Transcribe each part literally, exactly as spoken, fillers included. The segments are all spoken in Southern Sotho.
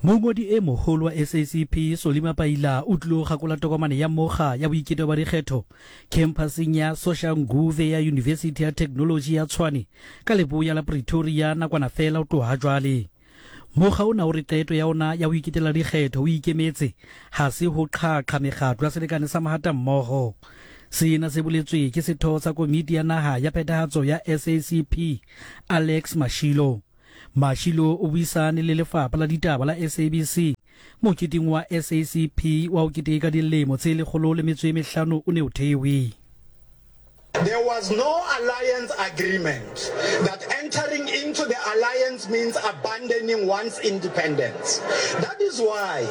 Mongodi e moholo wa S A C P Solly Mapaila o tlilo kgakola tokomane ya mokga ya boiketo ba dikgetho khemphaseng ya Soshanguve ya Yunibesithi ya Theknoloji ya Tshwane ka leboya la Pretoria nakwana fela ho tloha jwale. Mokga ona o re qeto ya ona ya ho iketela dikgetho o ikemetse ha se ho qhaqha mekgatlo ya selekane sa mahatammoho. Sena se boletswe ke setho sa komiti ya naha ya phethahatso ya S A C P Alex Mashilo. Mashilo o buisane le lefapha la ditaba la S A B C moketeng wa S A C P wa ho keteka dilemo tse lekgolo le metso e mehlano o ne o thewe. There was no alliance agreement that entering into the alliance means abandoning one's independence. That is why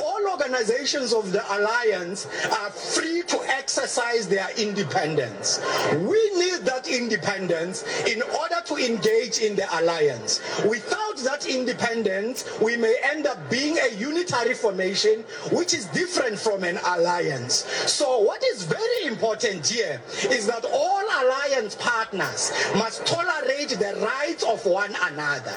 all organizations of the alliance are free to exercise their independence. We need that independence in order to engage in the alliance. Without that independence, we may end up being a unitary formation, which is different from an alliance. So what is very important here is that all alliance partners must tolerate the rights of one another.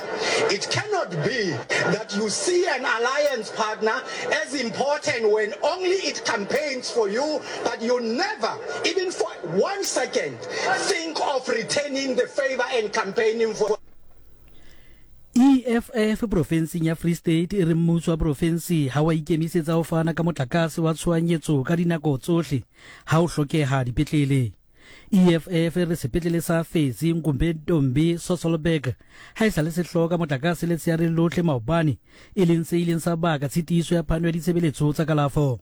It cannot be that you see an alliance partner as important when only it campaigns for you, but you never, even for one second, think of returning the favor and campaigning for E F F profenseng ya Free State e re mmuso wa profensi ha wa ikemisetsa ho fana ka motlakase wa tshohanyetso ka dinako tsohle ha ho hlokeha dipetlele. E F F e re sepetlele sa Fezi Nkumbentombi Sasolburg ha e sa le se hloka motlakase letsheare lohle maobane, e leng se ileng sa baka tshitiso ya phano ya ditshebeletso tsa kalafo.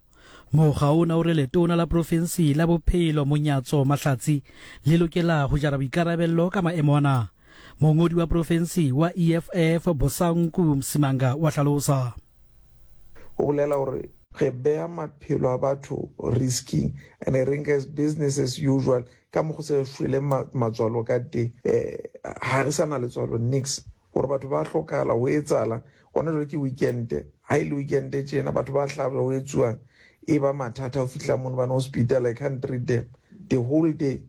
Mokga ona o re letona la profensi la bophelo Monyatso Mahlatsi le lokela ho jara boikarabello ka maemo ana. Mongodi wa profensi wa E F F Bosanku Msimanga wa hlalosa. Go bolela gore re beya maphelo a batho risking and re nka as business as usual ka mo go se shwele matswalo ka teng. um ga re sa na letswalo nix gore batho ba hlokala ho etsala gona jwale. Ke weekend, ha e le weekend tjena batho ba hlaba ho etsuwang, e ba mathata ho fihla mono bana hospital. I can't treat them the whole day,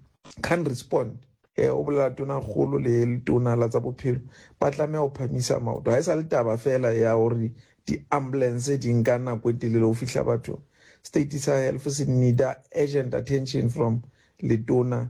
can't respond. eh o bolela tona kgolo le letona la tsa bophelo ba tlameha ho phamisa maoto. Ha e sa le taba fela ya hore di-ambulance di nka nako e telele ho fihla bathong. State sa health se need urgent attention from letona.